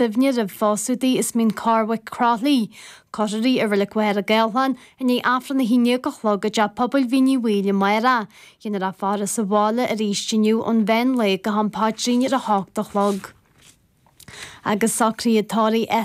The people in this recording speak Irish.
Suibhne roimh phósadh di as Mín Cormhaic, Croithlí. Cuirfear í i Reilig Mhachaire Gathlán i ndiaidh Aifreann 11 a chlog i dTeach Pobail Mhín Uí Bhaoill amárach. Déanfar a faire sa bhaile arís inniu ón mheán lae go ham paidrín ar a hocht a chlog. Agus socruithe tórraimh.